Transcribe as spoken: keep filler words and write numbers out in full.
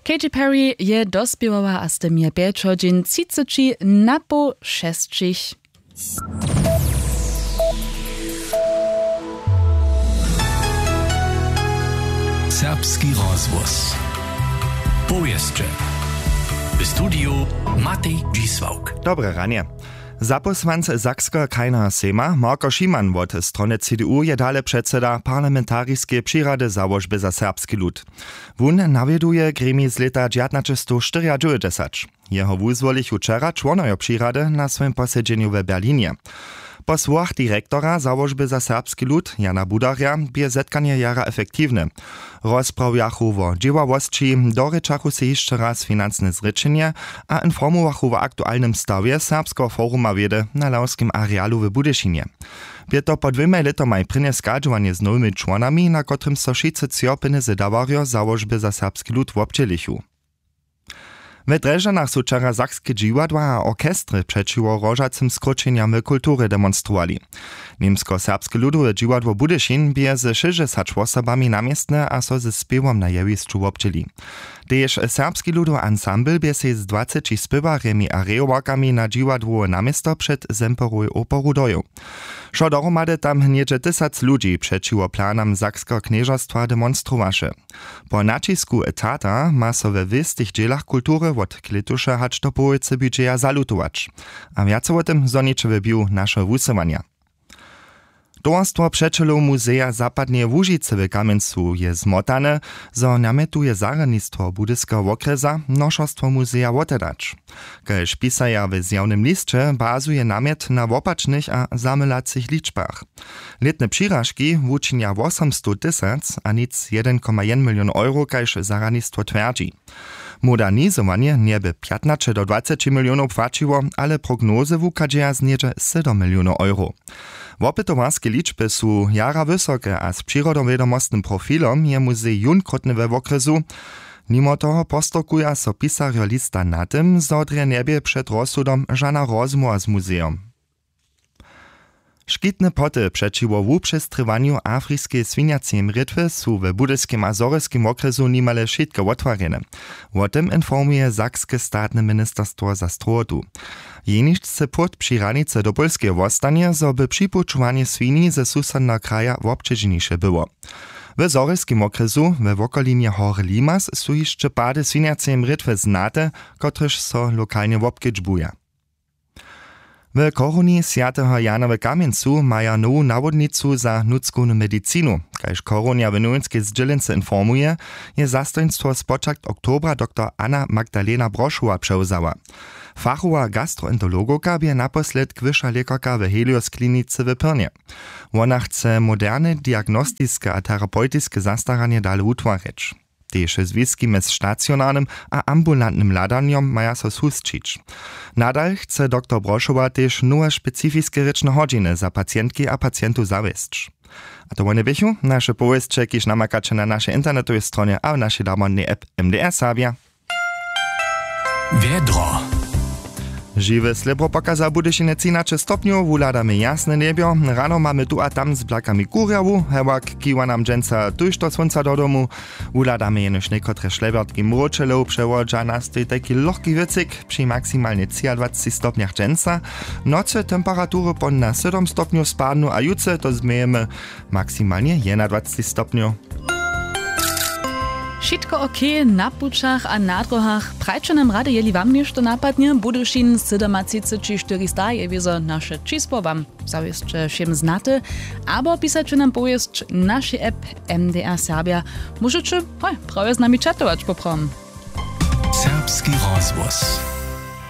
Katy Perry je dospěwała a z tym je pjećo dźeń třiceći na poł šesćich. Serbski rozhłos. Powěsće. W studiju Matej Dźisławk. Dobre ranje. Zapósłanc Sakskeho krajneho sejma Marko Šiman wot strony C D U je dale předseda parlamentariskeje přirady Załožby za serbski lud. Wón nawjeduje gremij z lěta dźewjatnaćestowštyriadźewjećdźesat. Jeho wuzwolichu wčera čłonojo přirady na swojim posedźenju w Berlinje. Po słowach direktora Załožby za serbski lud Jana Budarja bě zetkanje jara efektiwne. Rozprawjachu wo dźěławosći, dorěčachu sej hišće raz financne zrěčenje a informowachu wo aktualnym stawje Serbskeho foruma wědy na lawskim arealu w Budyšinje. Bě to po dwěmaj lětomaj prěnje schadźowanje z nowymi čłonami, na kotrymž so wšitcy třo pjenjezy dawarjo Załožby za serbski lud wobdźělichu. We Drježdźanach su wčera sakske dźiwadła a orchestry přećiwo hrožacym skróćenjam w kulturje demonstrowali. Němskoserbske ludowe dźiwadło Budyšin bě ze šěsćdźesać wosobami na městnje a so ze spěwom na jewišću wobdźěli. Tež serbski ludowy ansambl bě sej z dwaceći spěwarjemi a rejowarkami na dźiwadłowe naměsto před Semperowej operu dojěł. Wšo dohromady tam něhdźe tysac ludźi přećiwo planam Sakskeho knježerstwa demonstrowaše. Po naćisku etata ma so we wěstych dźělach kultury wot klětuša hač do połojcy budźeja zalutować. A wjace wo tym zhoniće w běhu našeho wusyłanja. Towarstwo přećelow muzeja zapadneje łužicy w kamjencu je zmotane, zo namjetuje zarjadnistwo budyskeho wokrjesa nošerstwo muzeja wotedać. Kaž pisaja w zjawnym lisće, bazuje namjet na wopačnych a zamylacych ličbach. Lětne přiražki wučinja wosomstow tysac a nic jedyn koma jedyn milion euro, kaž zarjadnistwo twjerdźi. Modernizowanje njeby pjatnaće do dwaceći milionow płaćiło, ale prognozy wuchadźeja z něhdźe sydom milionow euro. Wopytowarske ličby su jara wysoke a z přirodowědomostnym profilom je muzej jónkrótny we wokrjesu. Nimo toho postorkuja so pisarjo lista na tym, zo drje njebě před rozsudom žana rozmołwa z muzejom. Škitne poty přećiwo wupřestrěwanju afriskeje swinjaceje mrětwy su w budyskim a zhorjelskim wokrjesu nimale wšitke wotwarjene. Wo tym informuje sakske statne ministerstwo za strowotu. Jeničce płót při hranicy do pólskeje wostanje, zo by připućowanje swini ze susodneho kraja wobćeženiše było. W zhorjelskim wokrjesu we wokolinje hory Limas su hišće pady swinjaceje mrětwy znate, kotrež so lokalnje wobkedźbuja. W chorowni swjateho Jana w Kamjencu maja nowu nawodnicu za nutřkownu medicinu. Kaž chorownja w nowinskej zdźělence informuje, je zastojnstwo spočatk oktobra doktor Anna Magdalena Brošowa přewzała. Fachowa gastroenterologowka bě naposlědk wyša lěkarka w Helios klinicy w Pyrnje. Wona chce moderne diagnostiske a terapewtiske zastaranje dale wutwarjeć. Tež zwiski mjez stacionarnym a ambulantnym hladanjom maja so susćić. Nadal chce doktor Brošowa tež nowe specifiske rěčne hodźiny za pacientki a pacientow zawěsć. A to wone běchu naše powěsće, kiž namakaće na našej internetowej stronje a w našej damodnej app M D R Serbia. Wjedro. Žiwe slěbro pokaza w Budyšinje třinaće stopnjow, wuhladamy jasne njebjo. Rano mamy tu a tam z blakami kurjawu, hewak kiwa nam dźensa tójšto słónca do domu. Wuhladamy jenož někotre šlebjertki mróčelow, přewodźa nastej tajki lochki wěcyk při maksimalnje třiadwaceći stopnjach dźensa. Nocy temperatury pon na sydom stopnjow spadnu a jutře to změjemy maksimalnje jedynadwaceći stopnjow. Wšitko ok na pućach a na dróhach? Prajće nam rady, jeli wam něšto napadnje. Budyšin sydomatřiceći štyrista je wězo naše čisło wam zawěsće wšěm znate, abo pisaće nam powěsć w našej app M D R Serbia. Móžeće hoj prawje z nami čatować poprawom. Serbski rozhłos.